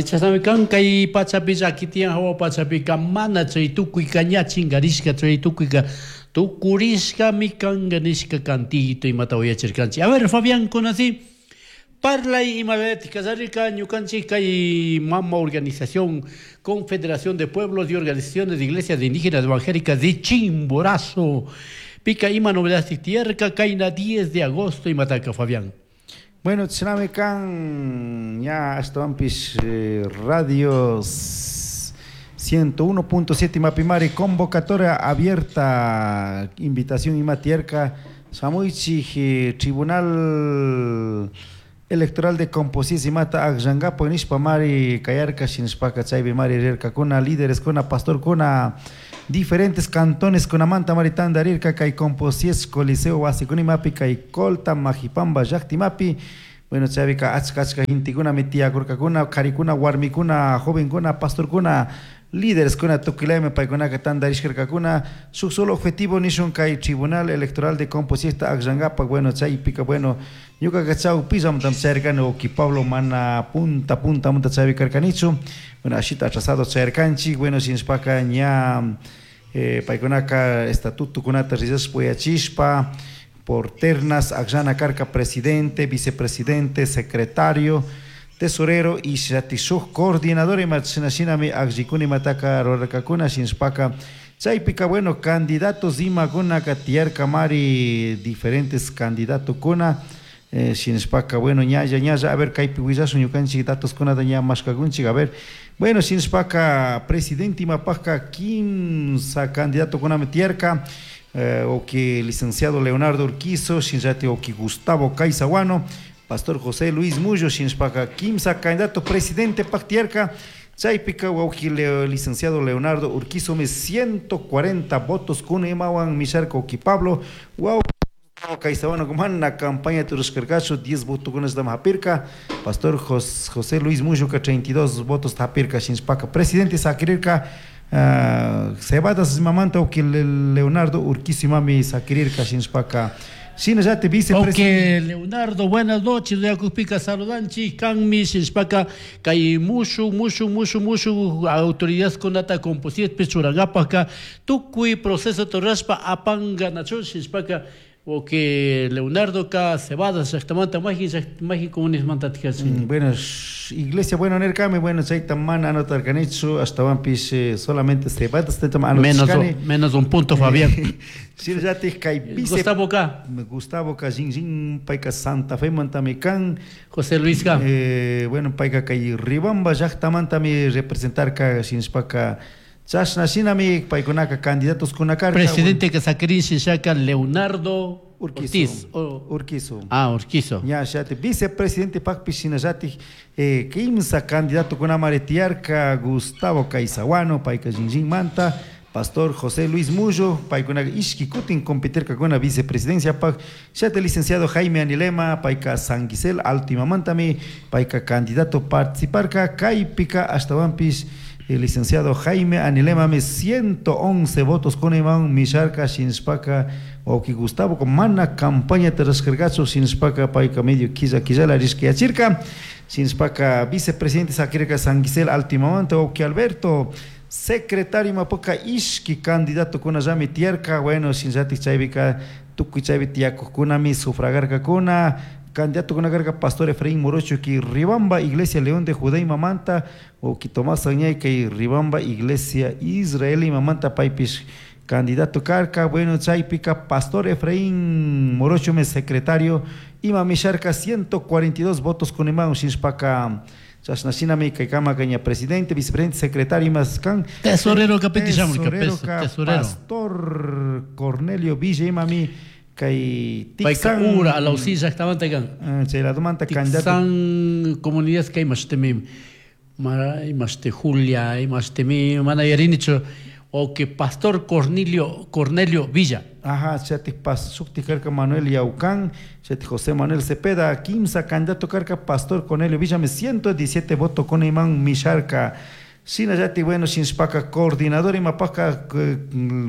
Chashnami kan kay pachapi llaki tiyan, hawa pachapika mana chay tukuyka ña chinkarishka, chay tukuyka tukurishkami kanka nishka cantito imata uyachirkanchik. A ver, Fabián, conocí parlay imalayatik kallarika ñukanchik kay mama organización Confederación de Pueblos y Organizaciones de Iglesias de Indígenas Evangélicas de Chimborazo. Pika ima novedad tiyarka kayna 10 de agosto imataka, Fabián. Bueno, chashnami kan ña ashtawanpish radio 101.7 Mapimari convocatoria abierta, invitación ima tiyarka shamuychik Tribunal Electoral de Composición imata akllankapak nishpa mari kayarka. Shinashpaka chaypi mari rirkakuna lídereskuna, pastorkuna, diferentes cantones kunamanta mari tandarirka kay Composies Coliseo wasikunimapi kay Colta Majipamba llaktimapi. Bueno, chaypika achka achka gentekunami tiyakurkakuna, karikuna, warmikuna, jovenkuna, pastorkuna, lídereskuna, tukuylami paykunaka tandarishkarkakuna shuk solo objetivo nishun kay Tribunal Electoral de Composiesta akllankapak. Bueno, chaypika, bueno, ñukaka chawpillamantam chayarkani, uki Pablo mana punta puntamanta chaypi karkanichu. Bueno, ashita atrasado chayarkanchik. Bueno, shinashpaka ña paykunaka estatutokunata rillashpa uyachishpa por ternas akllana karka presidente, vicepresidente, secretario, tesorero y shati shuk coordinador ima shina shinami akllikuna imataka rurarkakuna. Shinashpaka chaypika, bueno, candidatos imakunaka tiyarka mari diferentes candidatokuna. Shinashpaka, bueno, ñalla ñalla, a ver, kaypi willashun ñukanchik datoskunata ña mashkakunchik. A ver, bueno, shinashpaka presidente imapakka kimsa candidatokunami tiyarka, uki licenciado Leonardo Urquizo, shinallati uki Gustavo Caizahuano, pastor José Luis Mullo. Shinashpaka kimsa candidato presidente pak tiyarka. Chaypika wawki licenciado Leonardo Urquizo mi 140 votos kuna imawan misharka. Uki Pablo waw Caizahuano mana campaña turishkarkachu, 10 votokunata hapirka. Pastor José Luis Mullo 32 votos hapirka. Shinashpaka presidente sakirirka Cebadas imamanta uki Leonardo Urquizo imami sakirirka. Shinashpaka shinallati vicepresidente. Ok, Leonardo, buenas noches, Yakupika saludanchi, kanmi shinashpaka kay mushu mushu mushu mushu autoridad kunata composición churangapaka tukuy proceso torraspa apanga nacho. Shinashpaka ok Leonardo ka Cebadas llaktamanta maji maji comunismanta tikachin. Bueno, iglesia, bueno, nirkami, bueno, chayta mana anotarkanichu, ashtawanpish solamente Cebadas menos, menos un punto, Fabián. Shinallatik kay vice Gustavo K. Gustavo K. Jinjin payka Santa Fe mantami kan. José Luis K. Bueno, payka kay Ribamba llaktamantami representarka. Shinashpaka chashna shinami paykunaka candidatos kuna karka. Presidente que sakirin shaka Leonardo Urquizo. Ortiz. Urquizo. Ah, Urquizo. Ña shati vicepresidente pakpi shinallatik kimsa candidato kunamari tiyarka: Gustavo Caizahuano, payka Jinjinmanta, pastor José Luis Mullo, paykunaka ishki kutin competirkakuna vicepresidencia pak, shati licenciado Jaime Anilema, payka San Gisel Alto imamantami payka candidato participarka. Kaypika ashtawanpish el licenciado Jaime Anilema mi 111 votos con iman misharka. Shinashpaka wawki Gustavo mana campaña rurashkarkachu. Shinashpaka payka medio killa killala rishkayachirka. Shinashpaka vicepresidente sakirka San Gisel Alto imamanta wawki Alberto. Secretario imapaka ishki candidato kunallami tiyarka. Bueno, shinallatik chaypika tukuy chaypi tiyakuqkunami sufragarkakuna. Candidato kuna karka pastor Efraín Morocho ki Ribamba Iglesia León de Judá imamanta, wawki Tomás Añay kay Ribamba Iglesia Israel imamanta paypish candidato karka. Bueno, chaypika pastor Efraín Morocho me secretario ima misharka 142 votos kuniman. Shinashpaka chashna shinami kay ña presidente, vicepresidente, secretario imas kan. Tesorero kapiti shamurka, tesorero. Pastor Cornelio Villa imami kay Payka ura Alausí llaktamanta kan. Chay ladomanta candidato. Tixan comunidad kay mashtemi mara imashte Julia imashtemi mana yarinichu o que pastor Cornelio Villa. Ajá, chatik pas shukti karka Manuel Yaucán, chatik José Manuel Cepeda, kimsa candidato karka. Pastor Cornelio Villa me 117 voto con iman misharka. Shinallati, bueno, shinashpaka coordinador imapaka,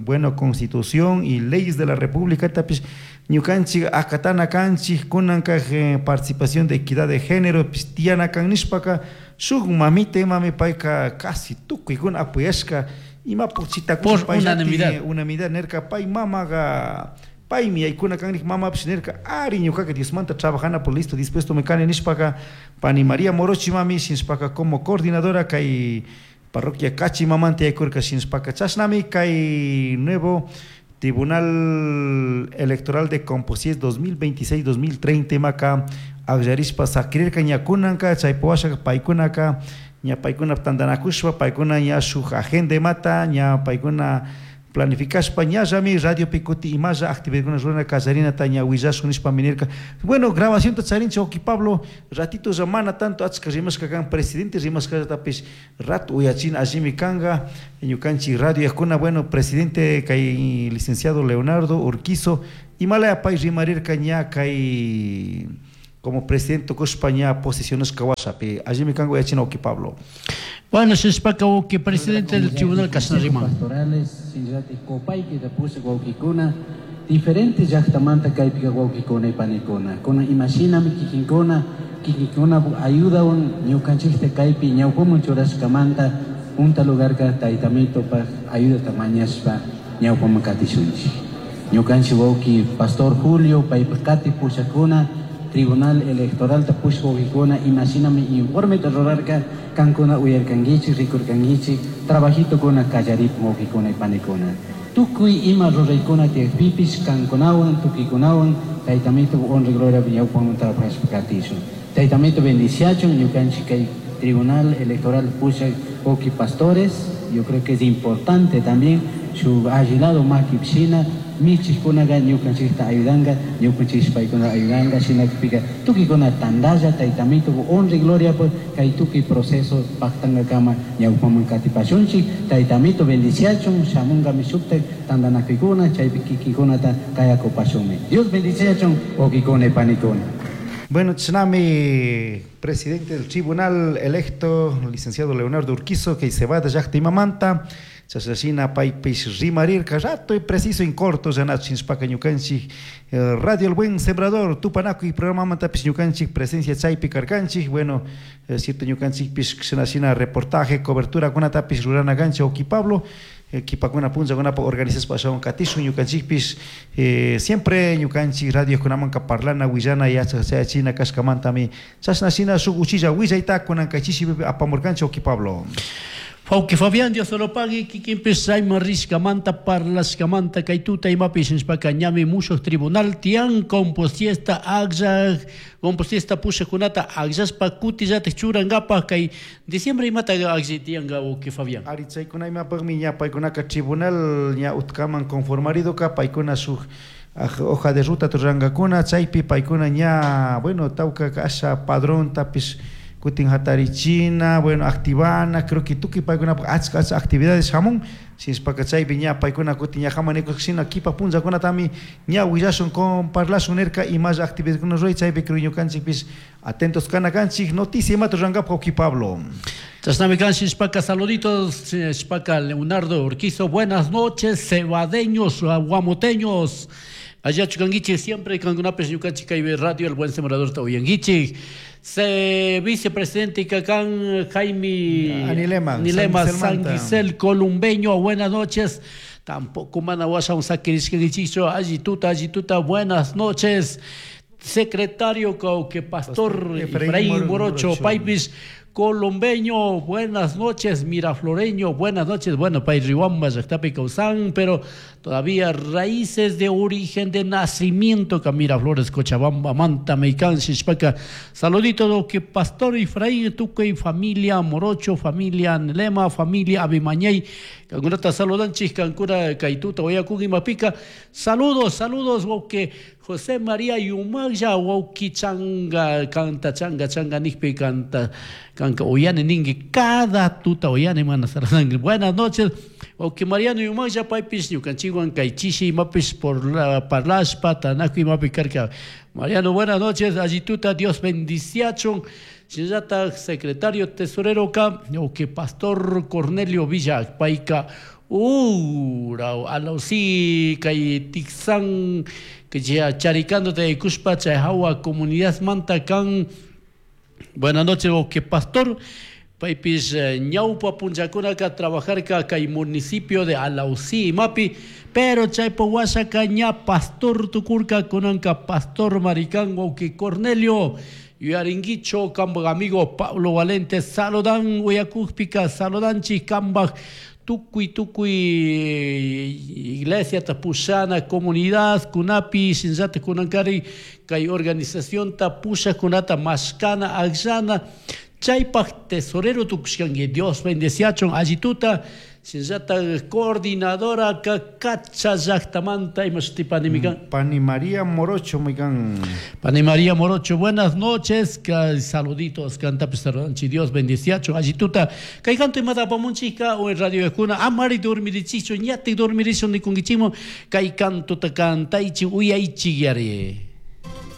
bueno, Constitución y leyes de la República tapish. Ñukanchik akatana kanchik kunanka participación de equidad de género tiyana kan nishpaka shuk mamita imami payka casi tukuykuna apoyashka imapuk Por unanimidad. Unanimidad nirka pay mamaga paymi yaykuna kan nik mamapish nirka ari ñukaka Diosmanta trabajana por listo dispuesto me kani nishpaka pani María Morochi mami shinshpaka como coordinadora kay parroquia Cachi mamanta yaykurka shinshpaka chashnami kay nuevo Tribunal Electoral de Composies 2026-2030 imaka akllarishpa sakirirka ña kunanka chaypi washaka paykunaka ña paykuna tantanakushpa paykuna ña shuk agenda imata ña paykuna planificashpa ñallami radiopi kuti imalla actividadkuna rurana kallarinata ña willashun nishpami nirka. Bueno, grabacionta charinchik wawki Pablo, ratito mana tanto achka rimashka kan presidente rimashkallatapish rato uyachina allimi kanka ñukanchik radio yakuna, bueno, presidente kay licenciado Leonardo Urquizo imalaya pay rimarirka ña kay como presidente tukushpa ña posesionashka washapi allimi kanka uyachina wawki Pablo. Bueno, shishpaka wawki presidente del tribunal kashna riman. Pastorales, shinallatik Copaiquita pushak wawkikuna, diferentes llaktamanta kaypika wawkikuna y panikuna. Kuna imashinami kikinkuna, kikinkuna ayudawan ñukanchikta kaypi ñawpaman churashkamanta punta lugarka taytamitopak ayudata mañashpa ñawpaman katishunchik. Ñukanchik wawki Pastor Julio paypak kati pushakuna, Tribunal Electoral ta pushak wawkikuna imashinami informeta rurarka kankuna uyarkankichik, rikurkankichik, trabajitokuna kallaripun wawkikuna y panikuna. Tukuy ima ruraykuna tiyakpipish kankunawan, tukuykunawan taytamito honra y gloria ñawpaman trabajashpa katishun. Taytamito bendiciachun ñukanchik kay Tribunal Electoral pushak wawki pastores, yo creo que es importante también shuk alli lado makipishina michikkunaga ñukanchikta ayudanka, ñukanchik paykuna ayudanka, shinakpika tukuykuna tantalla taytamito honra y gloria por kay tukuy proceso paktankakama ñawpaman katipashunchik. Taytamito bendiciachun, shamunkami shuktak tantanakuykuna, chaypi kikinkunata kayakupashunmi. Dios bendiciachun, wawkikuna y panikuna. Bueno, chashnami presidente del tribunal electo, licenciado Leonardo Urquizo, que se va de llakta imamanta, chashnashina paypish rimarirka rato y preciso en corto, yanachinshpaka ñukanchik Radio El Buen Sembrador, tupanakuy programamantapis ñukanchik presencia chaypi karkanchik, bueno, cierto ñukanchikpish chashnashina reportaje, cobertura kunatapis rurana kanchik, wawki Pablo, kipakuna punllakunapa organizashpa ashawan katishun ñukanchikpish siempre ñukanchik radiokunamanka parlana, willana, yachachayachina kashkamantami chashnashina shuk uchilla willayta kunanka chishipi apamurkanchik, wawki Pablo. Wawki Fabián, Dios te lo pague, kikinpish chayman rishkamanta, parlashkamanta, kay tuta imapish nishpaka ñami mushuk tribunal tiyan composiesta akllak, composiesta pushakkunata akllashpa kutillatik churankapak kay diciembre imata akllay tiyanka, wawki Fabián. Ari chaykuna imapakmi ña paykunaka tribunal ña utkaman conformaridoka paykuna shuk hoja de ruta rurankakuna, chaypi paykuna ña, bueno, tawka asha padrontapish kutin hatarichina, bueno, activana, creo que tukuy paykunapak achka achka actividades hamun, shinashpaka chaypi ña paykuna kutin ña hamanikushina kipa punllakunatami ña willashun con parlashun nirka imalla actividadkuna ruray, chaypi creo ñukanchikpish atentos kana kanchik, noticia imata rurankapak, wawki Pablo. Chashnami kan shinashpaka saluditos, shinashpaka Leonardo Urquizo, buenas noches, cebadeños, guamoteños. Allá chukanguichik, siempre kankunapish ñukanchik kay Radio El Buen Sembrador ta uyanguichik. Se vicepresidente Cacán Jaime Anilema, Anilema San Gisel Manta. San Gisel Columbeño, buenas noches. Tampoco mana washa un saquirishkanguichikchu, allí tuta, allí tuta, buenas noches. Secretario que pastor Pastor Efraín Efraín Morocho, Morocho. Paipis Columbeño, buenas noches, Mirafloreño, buenas noches. Bueno, Pay Riwamba, llaktapi kawsan, pero todavía raíces de origen de nacimiento, que Miraflores, Cochabamba, Manta, Meicán, Xixpaca. Saludito, do que Pastor Efraín, Tuque y familia Morocho, familia Nelema, familia Abimañey. Cancunata saludanchis, Cancuna, Caituta, Oyacuc y Mapica. Saludos, saludos, que José María Yumaya, Wauki Changa, canta, changa, changa, nijpi, canta, canca, oyane, ningue, cada tuta, oyane, mana, saranangui. Buenas noches, Wauki Mariano Yumaya, paipis, ñukanchiguan, kaichishi, mapis, por la, parlashpa, tanaku, y mapi, carca. Mariano, buenas noches, allí tuta, Dios bendiciachon. Shinllata, secretario tesorero ka, o que pastor Cornelio Villa, paica, Ura Alausí kay Tixán charicando taykushpa chay hawa comunidad manta kan. Buenas noches, que pastor. Paypis ñawpa punllakunaka trabajarka kay municipio de Alausí imapi, pero chaypa washaka ña pastor tukurka kunanka pastor marikan wawqi Cornelio. Yuyarinkichu kambaj amigo Pablo Valente saludan uyakukpika saludanchik kambaj tukuy tukuy iglesiata pushana comunidad kunapi shinllatak kunankari kay organizacionta pushakkunata mashkana akllana chaypaj tesorero tukushkanki. Dios bendeciachun allituta shinllatak coordinadora kacha llaktamanta ima shuti panimi kan. Pani María Morocho mikan. Pani María Morocho, buenas noches, saluditos, kantapis saludanchik, Dios bendeciachun allituta. Kay kanto imata apamunchika o en radio kuna amari dormirichichu ñatik dormirishun nikunkichikmun kay kantota kantaychik uyaychik yari.